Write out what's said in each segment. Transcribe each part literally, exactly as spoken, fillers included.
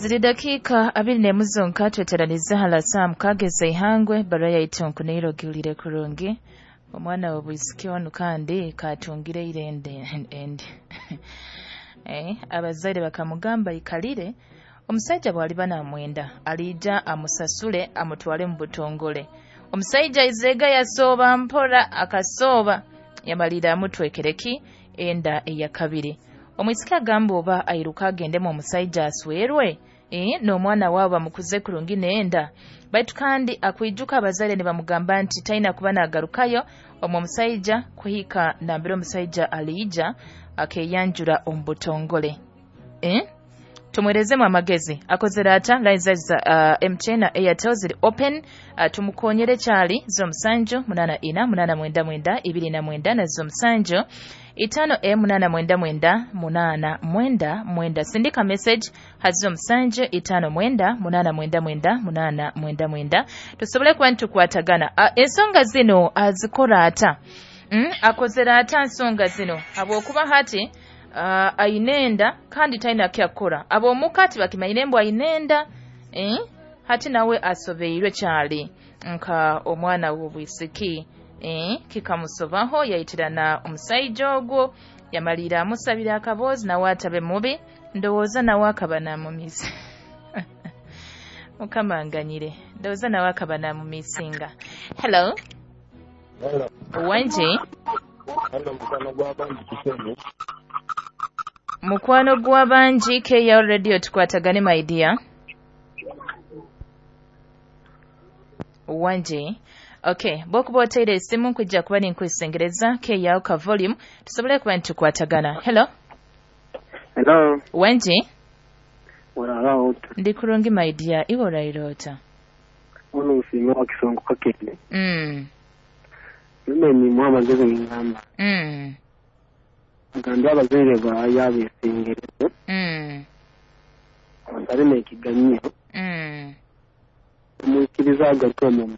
Ziri dakiika abiri n'emu zonka tweteranize hala saa mukaaga ez'eihangwe barua yaitu nkuneire ogihurire kurungi. Omwana w'obwisiki onu kandi katungire eirende endi eh, abazaire bakamugamba ikalire omusaija bw'aliba namwenda aliija amusasule amutwale mu butongole. Omusaija aizeega yasooba mpora akasooba yamalira amutwekereki enda eyakabiri. Omwisiki agamba oba airuka agendemu omusaija aswerwe eh, n'omwana waabo bamukuze kurungi n'enda, baitu kandi akwijuka abazaire nibamugamba nti taina kuba nagarukayo omu omusaija kuhika nambere omusaija aliija akeyanjura omu butongole. Eh? Tumwerezemu amagezi akozere ata. Line za uh, M T N na Airtel ziri open. uh, tumukonyere kyali z'omusanju munana ina munana mwenda mwenda ibiri na mwenda na z'omusanju itano e munana mwenda mwenda munana mwenda mwenda. Sindika message hazo musanju itano mwenda munana mwenda mwenda munana mwenda mwenda tusobole kuba nitukwatagana. uh, ensonga zino azikora ata? mm, akozere ata nsonga zino habwokuba hati uh, ainenda kandi taina kyakora ab'omuka tibakimanyi mbu ainenda eh? Hati nawe asobeirwe kyali nka omwana w'obwisiki eh, kikamusobaho yayitirana omusaija ogwo yamalira amusabira akaboozi nawe atabe mubi ndowooza nawe akaba namumiisa. Mukama nganyire ndowooza nawe akaba namumiisinga. Hello. Hello. Wanji. Hello, mukwano gw'abangi Kiseni. Mukwano gw'abangi K L Radio tukwatagane my dear. Wanji. Okay, bwokuba oteire esimu nkujja kuba ninkwesengereza K L ka volume tusobole kuba nitukwatagana. Hello. Hello. Wanji. Orara ota. Ndi kurungi my dear, iwe oraire ota? Ono nsiima wa Kisongo Kakende. Mm. Mimi ni amagezi ngamba. Mm. Agambye abazaire baayo abeesengereze. Mm. Abasabe n'ekiganyo. Mm. Omwikiriza agaruke omu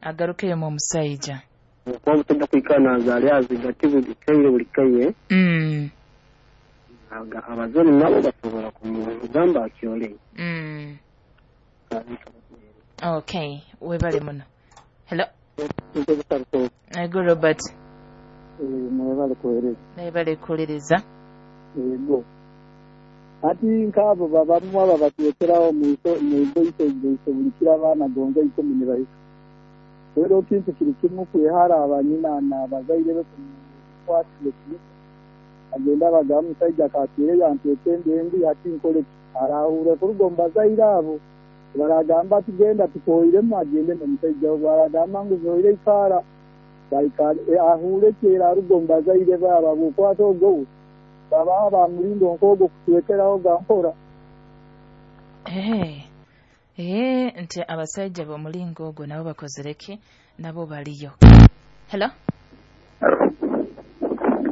agarukeyo mu musajja. Okuba omusajja kwikana azaale azigati buli kaire buli kaire. Mm. Abazaire nabo basobola kumugamba akyole. Mm. Okay, webale muno. Hello. Ego Robert. Mwebale kuweereza. Mwebale kuwuliriza. Ego. Ati nk'abo babamu aba batwekerawo mu igoiso igoiso buli kiro abaana gonza ikumi ne bahika. Rero kintu kiri kimu kwehara abanyina n'abazaire be kumukwatira ekinika. Agenda abagamba omusajja akatwire yantweka embi ati nkole ki? Arahure kuruga omu bazaire abo. Baragamba ati genda tukoiremu agende n'omusajja ogwo. Baragamba ngu zoire ikaara. Ahure kyera aruga omu bazaire baabo habwokwata ogwo baba bamulinda nk'ogwo kutwekeraho gampora. Eh, eh, nti abasajja b'omulingo ogwo nabo bakozere ki? Nabo baliyo. Hello.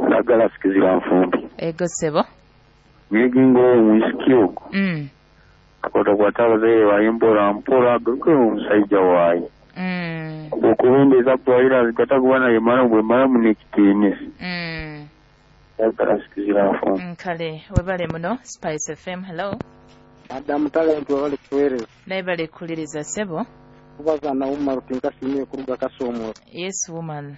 Ndagala sikizira nfumbi. Ego sebo. Nyegingo omwisiki ogwo. Mm. Akwatakwata abazaire baye mpora mpora agaruke omusajja waaye. Mm. Okubendeza kuwalira zikata kuba naye mara bwe mara munekitiinisa. Mm. Ndagala sikizira nfumbi. Nkale webale muno. Spice F M. Hello. Madamu Talent webale kuweereza. Naye kuwuliriza sebo. Kubaza na Umar tinkasiimire kuruga Kasomoro. Yes woman.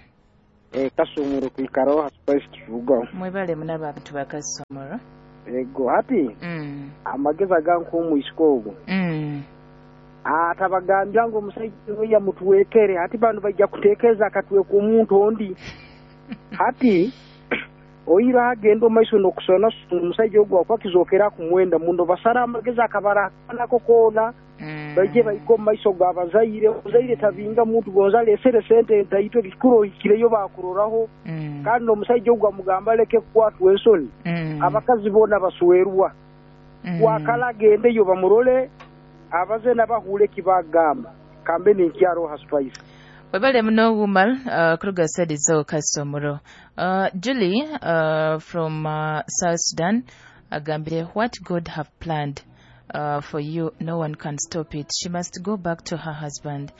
Eh, Kasomoro kwikaraho ha Spice turugaho. Mwebale muno abantu ba Kasomoro. Ego hati. Mm. Amagezi aganka omwisiki ogwo. Mm. Atabagambya ngu omusajja oyo yamutwekere hati bano bajja kuteekereza akatweka omuntu ondi. Hati oira agenda omaiso n'okusona omusajja ogwo akuba kizookera kumwenda muno basara amagezi akabara nako koona. Mm. Baije bahika omu maiso g'abazaire omuzaire tabinga muntu gonza alesere sente ntaitwe ekikuru ohikireyo bakuroraho. Mm. Kandi omusajja ogwo amugamba aleke kukwatwa ensoni. Mm. Abakazi boona baswerwa. Mm. Wakala agendeyo bamurole abaze nabahure kibagamba kambe ninkyaro ha Spice. Webale muno Umar uh, kuruga sedi zo Kasomoro. Uh, Julie uh, from uh, South Sudan agambire what God have planned uh, for you no one can stop it. She must go back to her husband.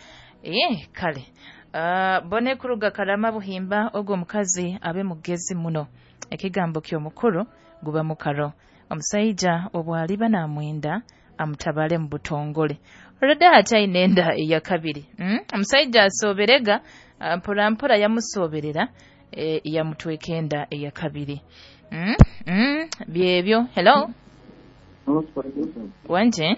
Eh, kale. Uh, bone kuruga Karama Buhimba ogwo mukazi abe mugezi muno. Ekigambo ky'omukuru guba mukaro. Omusajja obwaliba namwenda amutabale mu butongole. Olwedde akyalina enda eyakabiri. Mm? Omusajja asoberega mpora mpora yamusoberera e, yamutweka enda eyakabiri. Mm? Mm? Byebyo. Hello. Wanje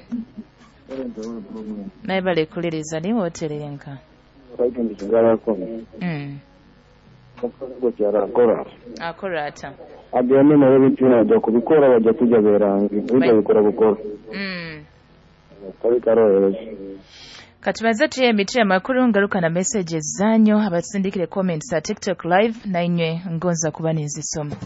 naye balekuliriza niwe oterenka. Mm. Akora ata agende nawe bintu najya kubikora bajya kujya berangi ujya bikora bukora mm. Karohereje. Katubaze tuye emitwe amakuru ngaruka na messages zanyu abatsindikire comments at TikTok live na inywe ngonza kuba nizisoma.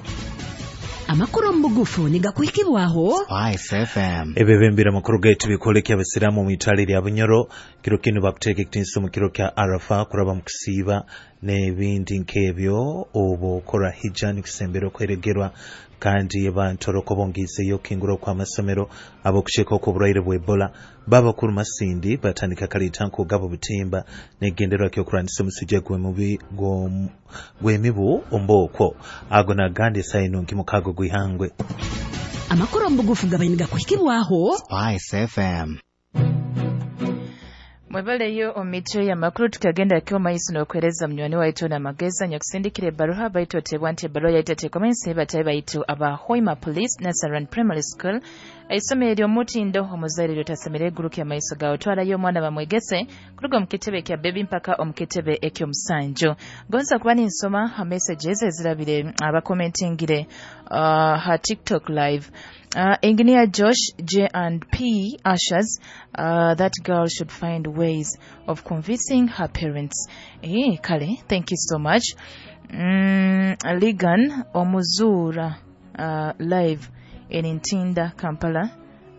Amakuru mbugufu nigakuhikibwaho Spice F M. Ebebembera makuru gaitu bikolekya abasiramu mu itale lya Bunyoro kiro kino bakuteeka ekitiinisa mu kiro kya Arafa kuraba mu kusiiba n'ebindi nk'ebyo oba okora hijja nikusembera okweregerwa kandi abantu olwokubongiizeyo okukingura okw'amasomero ab'okukyeka okw'obulwaire bwa Ebola babakuru Masindi batandika kaleeta nk'ogaba obutimba n'ekigendererwa ky'okulwanyisa omusujja gw'emibu ombookwo ago nagandi esaaha enungi mukaago gw'ihangwe. Amakuru mbugufu gabaine gakuhikibwaho Spice F M. Mwebaleyo omitwe ya makuru tukagenda kyo maiso n'okwereza munywani waitu na mageza nyakusindikire ebbaluha baitu otebwa nti ebbaluha yaitateekwa mensi batayi baitu aba Hoima Police Nasaran Primary School isomero ery'omutindo omuzaire lyotasemere eguruka amaiso gawe twalayo omwana bamwegese kuruga omu kitebe kya bebi mpaka omu kitebe eky'omusanju. Gonza kuba ninsoma ha messages ezirabire abakomentingire uh, ha TikTok live. Uh, Engineer Josh J and P ushers, uh, that girl should find ways of convincing her parents. Eh, Kale, thank you so much. Mm, Ligan Omuzura uh, live in Ntinda, Kampala.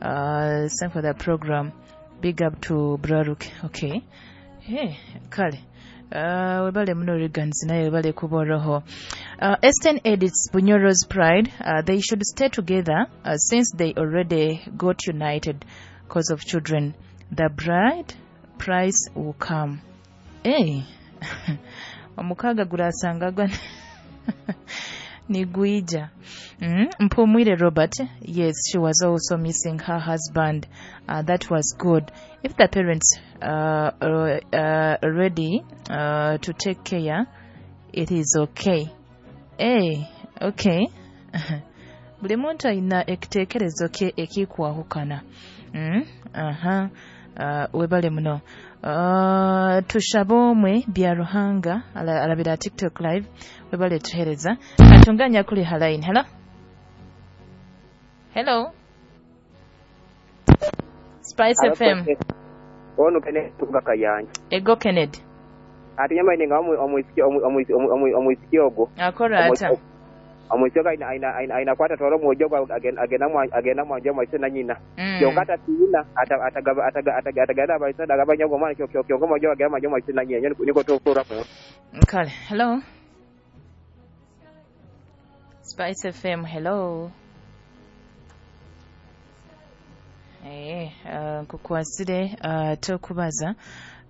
Uh, thank for the program. Big up to Braruk. Okay. Hey, Kale. Uh, webale muno Regan's naye webale kuboroho. Uh, Eastern Edits Bunyoro's pride, uh, they should stay together uh, since they already got united cause of children. The bride price will come. Hey. Omukaga gurasanga gwa Niguija. Mm? Mpumwire Robert, yes, she was also missing her husband. Uh, that was good. If the parents uh, are uh, ready uh, to take care, it is okay. Hey, okay. Buli muntu alina ekiteekerezo kye ekikwahukana. Mm? Aha. Uh, webale muno. Uh, tushaba omwe bya Ruhanga alabira TikTok live webale tuhereza atunganya kuli halaini. Hello, hello Spice F M. Ono Kennedy tuga Kayanja. Ego Kennedy ati nyama inenga omwisiki omwisiki ogo akora ata omwisiki aina aina aina aina kwata twaro mwojo agenda agenda mwanje mwaise na nyina kyonka tina atagaba ataga atagana abaisa agabanya gomana kyo kyo kyo mwojo agenda mwanje mwaise na nyina niko tokora mu kale. Hello Spice F M. Hello. Eh, uh, nkukwasire uh, tokubaza.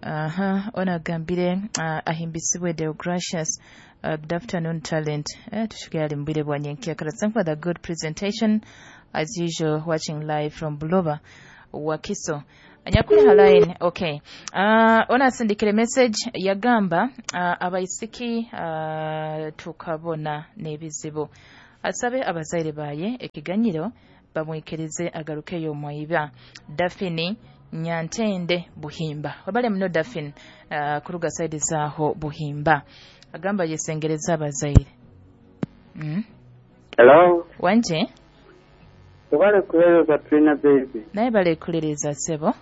Aha, uh, onagambire uh, ahimbisibwe Deogracious. Uh, good afternoon talent. Eh, tushukari mbire bwanyenkia. Thank for the good presentation as usual, watching live from Buloba Wakiso. Anyakuli halaini. Okay. Uh, ona sindikire message yagamba uh, abaisiki uh, tukabona n'ebizibu. Asabe abazaire baye ekiganyiro bamwikirize agarukeyo mwiba. Daphne Nyantende Buhimba. Wabale mno Daphne uh, kuruga side zaho Buhimba. Agamba yesengereza abazaire. Mm. Hello. Wanje? Wabale kuleleza Trina baby. Naye bale kuleleza sebo.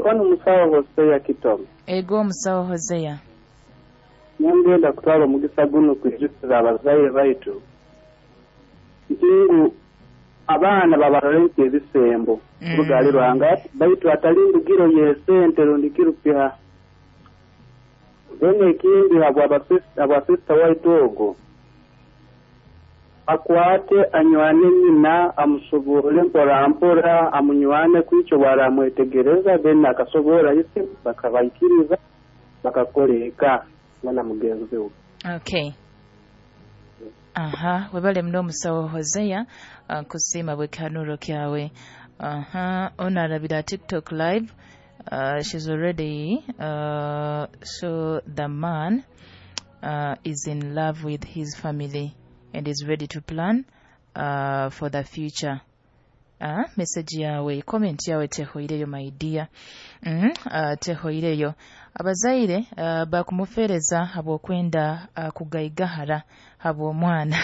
Ono musawo Hosea Kitomo. Ego musawo Hosea. Nyangenda kutwala omugisa guno kwijjukiza abazaire baitu. Ntingu abaana babaroleka ebisembo mm. Rugali rwanga baitu atali ndugiro yesente rundi kirupiha. Bene ekindi habwa sister waitu ogo akwate anywane nyina amusobole mpora mpora amunywane kwicho baramwetegereza then akasobora ise bakabaikiriza bakakoleka mwana mugenzi we. Okay. Aha, webale mno musawo Hosea, uh, kusima bwekanuro kyawe. Aha, ono arabira TikTok live. Uh, she's already uh, so the man uh, is in love with his family and is ready to plan uh, for the future. Uh, message yawe, comment yawe tehoireyo my dear. Mm, uh, tehoireyo. Abazaire uh, bakumufereza habwokwenda uh, kugaigahara habw'omwana.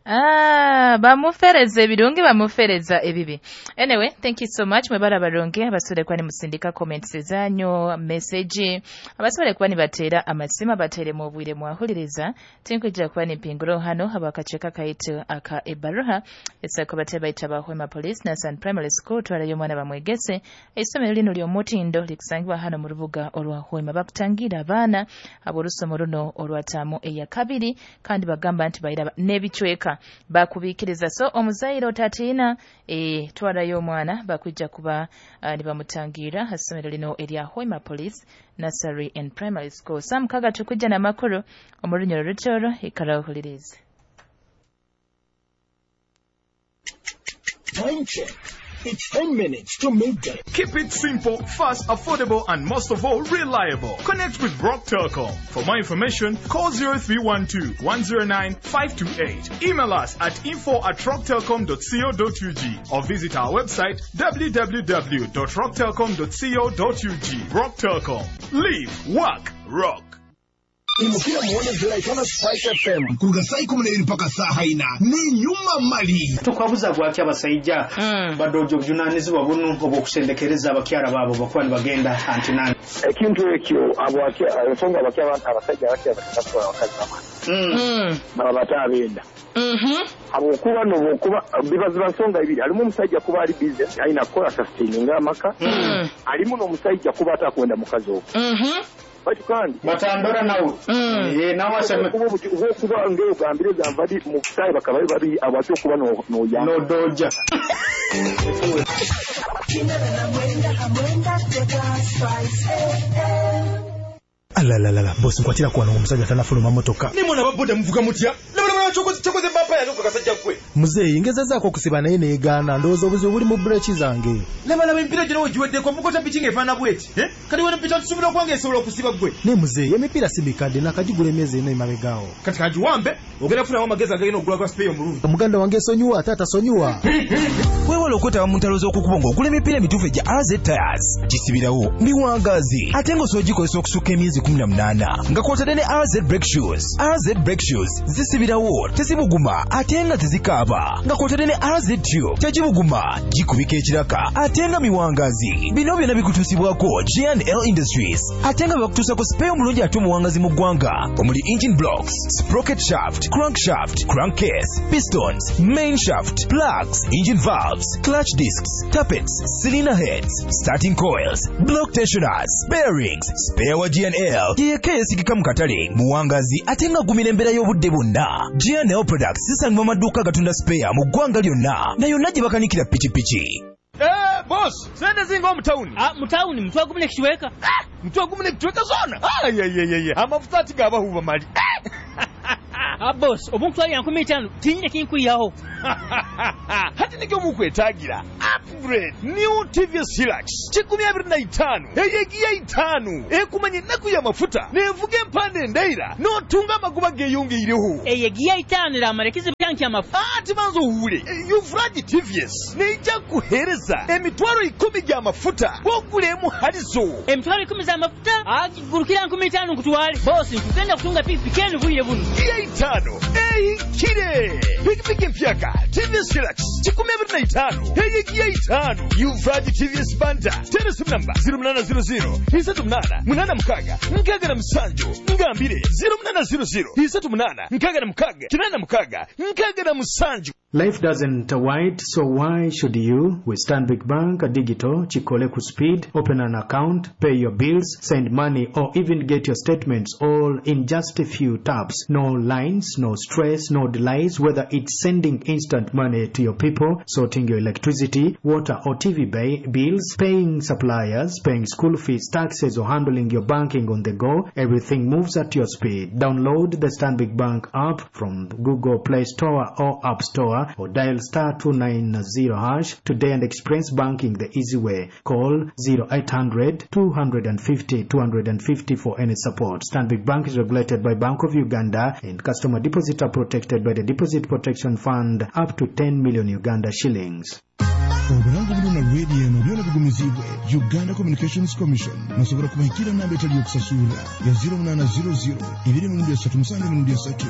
Ah, bamufereza ebirungi, bamufereza ebibi. Anyway, thank you so much. Mwebale abarungi abasobole kuba nimusindika comments zanyu, message, abasobole kuba nibateera amasimu, bateeremu obwire mwahuliriza. Tinkwija kuba nimpinguro hano habakaceka kaitu aka ebaruha esako bate baita ba Hoima Police Nasan Primary School twalayo omwana bamwegese. Isomero lino ly'omutindo likusangibwa hano mu rubuga olwa Hoima. Bakutangira abaana ab'orusomo runo olwataamu eya kabiri, kandi bagamba nti bayira n'ebicweka bakubikiriza. So omuzaire otatiina, e, twalayo omwana bakwijja kuba uh, nibamutangira hasomero lino erya Hoima Police Nursery and Primary School. Sam kaga tukujja n'amakuru omu runyoro rutoro, ikara ohulirize. Time check. It's ten minutes to midday. Keep it simple, fast, affordable, and most of all, reliable. Connect with Rock Telcom. For more information, call zero three one two, one zero nine, five two eight. Email us at info at rocktelcom dot co dot U G or visit our website w w w dot rock telcom dot co dot U G. Rock Telcom. Live, work, rock. Imukira muone ziraitana Spice F M kuruga saa ikumi n'ebiri mpaka saa haina ni nyuma mali. Tukwabuza gwaki abasajja mm. badojo obuvunanyizibwa buno obw'okusendekereza abakyala baabo bakuba nibagenda antinani. Ekintu ekyo abo ensonga abakyala abasajja abakyala batatu abakazi bamwe baba batabenda. Habwokuba nobwokuba biba nsonga ibiri, alimu omusajja kuba ali busy alina kukola sustaining amaka, alimu n'omusajja kuba atakwenda mukazi ogwo. Bati kandi batandora nawe eh nawe aseme kuba ngeo gambire zamvadi mu sai bakaba babi abacho kuba no no ya no doja. Alalalala bosi nkwatira kwa omusajja tanafuluma motoka. Nimona baboda muvuga mutya. Nabona chokoze chokoze mbapa yange kasajja gwe. Muzeeyi ngezezaako okusiba naye neegaana, ndowooza obuzibu buli mu breki zange. Laba laba emipiira gino wegiweddeko mukota piki ng'efaanana bweti. Eh? Kati wano piki tusubira okwange esobola okusiba gwe. Ne muzeeyi emipiira si mikadde nakagigula emyezi ena emabegaawo. Kati kagiwambe ogenda kufunamu amagezi agagenda okugula gwa sipeeyo omulungi. Muganda wange esonyiwa ate atasonyiwa. Weewale okwetaba mu ntalo z'okukubo ng'ogula emipiira emituufu egya A Z Tires. Gisibirawo miwangaazi ate ng'osobola ogikozesa okusukka emyezi kumi na munaana nga kw'otadde ne A Z Brake Shoes. A Z Brake Shoes zisibirawo tezibuguma ate nga tezikaaba nga kw'otadde ne A Z Tube tegibuguma gikubika ekiraka ate nga miwangaazi. Bino byonna bikutuusibwako G and L Industries ate nga bakutuusako sipeeyo omulungi ate omuwangazi mu ggwanga omuli engine blocks, sprocket shaft, crankshaft, crankcase, pistons, main shaft, plugs, engine valves, clutch discs, tappets, cylinder heads, starting coils, block tensioners, bearings. Spare wa G and L yeyeka eyesigika mu katale muwangazi ate nga agumira embeera y'obudde bwonna. G and L products zisangibwa mu maduuka agatunda spare mu ggwanga lyonna na yonna gye bakanikira pikipiki. Eh, boss, sente zinga omutawuni. Ah, mutawuni mutwe gumu nekichweka. Ah, mutwe gumu nekichweka zona. Ah, ye ye ye ye. Amafuta ati gabahuba mali. Ah, boss, obuntwali yankumi itaano tinyine kinkuyaho. Hati nikyo mukwetagira. Upgrade new T V S Hilux kikumi abiri na itaano eyegiya itaano ekumanye ennaku y'amafuta nevuga empande endeira n'otunga amagoba geeyongeireho. Eyegiya itaano eramara ekizibu kyange ky'amafuta. Ati banza owuule Uvraji T V S neija kuheereza emitwalo ikumi gy'amafuta bw'ogula halizo. Emitwalo ikumi z'amafuta agigurukira nkumi itaano nkutwale. Boss, nkugenda kutunga pikipiki enu bwire buno. Giya itaano ehikire pikipiki empyaka T V S Hilux kikumi abiri na itaano eyegiya itaano Uvraji T V S Banda teresimu namba zero munana zero zero isatu munana munana mukaga nkaga na musanju ngambire zero munana zero zero isatu munana nkaga na mukaga kinana mukaga nkaga na musanju. Life doesn't wait, so why should you? With Stanbic Bank Digital, Chikole ku speed, open an account, pay your bills, send money, or even get your statements all in just a few taps. No lines, no stress, no delays, whether it's sending instant money to your people, sorting your electricity, water or T V bills, paying suppliers, paying school fees, taxes, or handling your banking on the go, everything moves at your speed. Download the Stanbic Bank app from Google Play Store or App Store star or dial star two nine zero hash today and experience banking the easy way. Call zero eight hundred two hundred fifty two hundred fifty for any support. Stanbic Bank is regulated by Bank of Uganda and customer deposits are protected by the Deposit Protection Fund up to ten million Uganda shillings. Obulango buno na radio eno byona bigumizibwe Uganda Communications Commission. Musobola kubahikira namba etali yokusasula ya zero munana zero zero ibiri mirundi esatu musanju mirundi esatu.